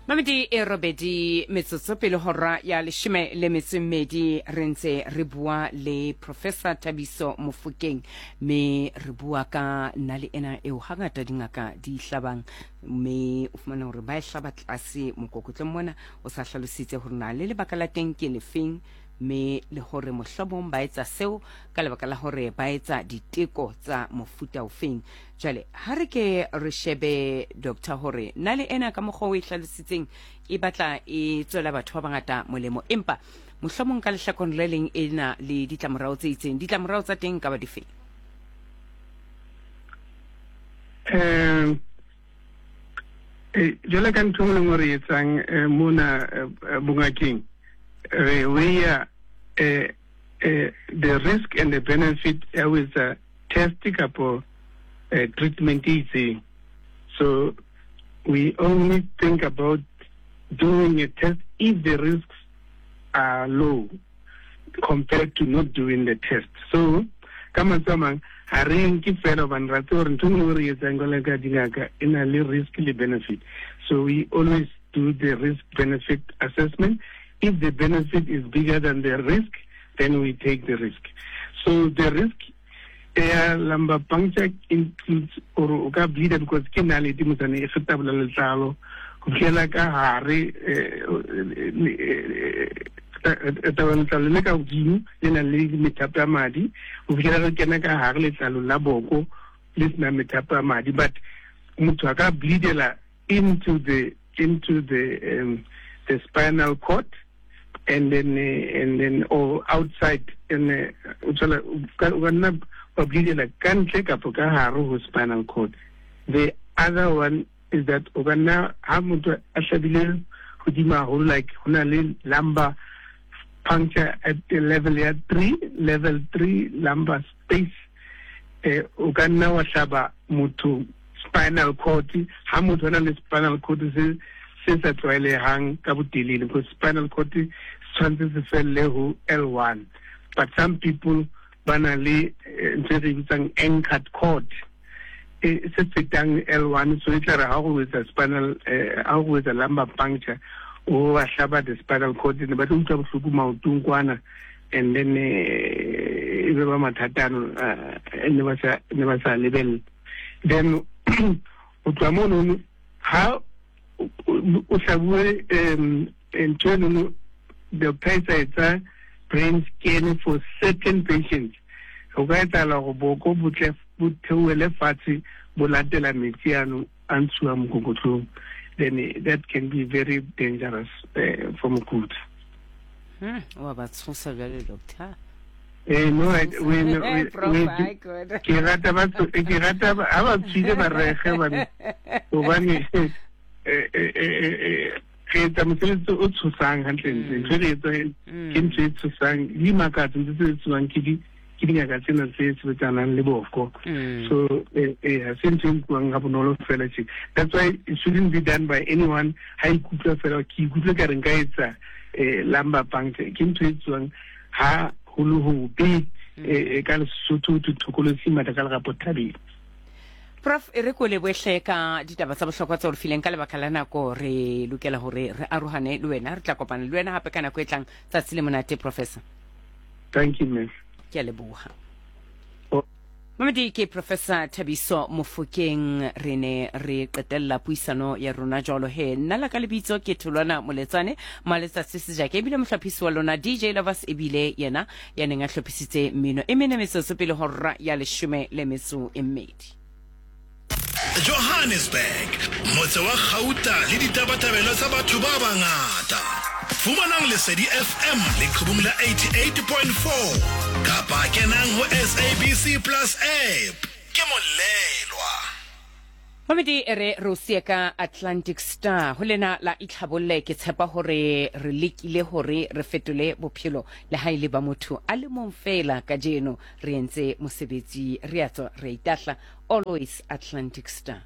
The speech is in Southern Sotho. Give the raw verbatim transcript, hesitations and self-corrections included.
Mamedi e robedi metsotso pele hora ya leshome le metso e mmedi, re ntse re bua le Professor Thabiso Mofokeng, mme re bua ka nale ena eo hangata dingaka di hlabang, mme o fumana hore ba e hlaba tlase mokokotlong mona. O sa hlalositse hore na le lebaka la teng ke lefeng, mme le hore mohlomong ba etsa seo ka lebaka la hore ba etsa diteko tsa mofuta ofeng. Jwale ha re ke re shebe, doctor, hore nale ena ka mokgwa o e hlalositseng e batla e tswela batho ba bangata molemo, empa mohlomong ka lehlakoreng le leng e na le ditlamorao tse itseng. Ditlamorao tsa teng ka ba difeng? um jwale ka ntho e nngwe le nngwe re etsang eh, mona eh, bongakeng, re weigh eh, eh, the risk and the benefit ya ho etsa test kapo eh, treatment e itseng. So we only think about doing a test if the risks are low compared to not doing the test. So ka mantswe a mang, ha re nke fela hobane ra tseba hore ntho e nngwe re etsang jwalo ka dingaka e na le risk le benefit. So we always do the risk benefit assessment. If the benefit is bigger than the risk, then we take the risk. So the risk ya lumbar puncture includes or o ka bleeda because ke nalete motsane e fetabola letlalo go fitlhela ka hare, tabola letlalo le ka godimo le nang le methapo ya madi, go fitlhela re kena ka hare letlalo la boko le senang methapo ya madi. But motho a ka bleedela into the into the um, the spinal cord and then uh, and then or outside, and o tswela o ka nna wa bleedela ka ntle kapo ka hare ho spinal cord. The other one is that o ka nna ha motho a hlabile hodimo haholo, like ho na le lumbar puncture at the level ya three, level three lumbar space, eh o ka nna wa hlaba motho spinal cord ha motho a na le spinal cord se se sa tlwaelehang ka botelele, because spinal cord se tshwanetse se felle ho L one, but some people ba na le ntho e re bitsang anchored cord e se fetang L one. So e tla re ha go etsa spinal, ha go etsa lumbar puncture, o ba hlaba the spinal cord, ne ba tlo utlwa bohloko maotong kwana, and then e be ba mathata ano ne ba sa ne ba sa lebella. Then o tloha monono, ha o hlabuwe um ntho enono, doctor e sa etsa brain scan for certain patients, ho ka etsahala hore boko bo tle bo theohele fatshe bo latela metsi ano a ntshuwang mokokotlong. Then that can be very dangerous uh, for mokudi. Hmm, wa ba tshosa jwale, doctor. Eh, no, I, we, we, we, ke rata ba ke rata ha ba tswile ba rege bane, hobane eh eh eh re etsa mosebetsi o tshosang hantlentle. Ntho e re etsa ke ntho e tshosang le dimakatso, ntho tse etsuwang ke di ke dingaka tsena tse sebetsanang le boko. So eh eh ha se ntho e nkuwang ha bonolo fela tje. That's why it shouldn't be done by anyone ha ikutlwa fela, ke ikutlwa ka re nka etsa eh lumbar puncture. Ke ntho e etsuwang ha ho le hobe, eh ka Lesotho ho thokolotsi matla ka lerapo thabeng. Prof, e re ko lebohle ka ditaba tsa bohlokwa tse o re fileng. Ka lebaka la nako re lokela hore re arohane le wena. Re tla kopana le wena hape ka nako e tlang. Tsatsi le monate, professor. Thank you, ma'am. Ke a leboha. Mamedi ke Professor Thabiso Mofokeng. Re ne re qetella puisano ya rona jwalo he. Nna la ka lebitso ke Tholwana Moletsane Maletsatsi Sejake, ebile mohlophisi wa lona D J Lovers, ebile yena ya neng a hlophisitse mmino. E mene metsotso pele hora ya leshome le metso e mmedi. Johannesburg, motse wa gauta le ditabatabelo tsa batho ba bangata. Fumanang Lesedi F M leqhubung la eighty-eight point four kapa kenang ho S A B C Plus app. Ke molelwa. Mamedi, e re re o siye ka Atlantic Star ho lena la itlhabolle. Ke tshepa hore re lekile hore re fetole bophelo le ha ile ba motho a le mong fela kajeno. Re entse mosebetsi, re a tswa, re a itahla. Always Atlantic Star.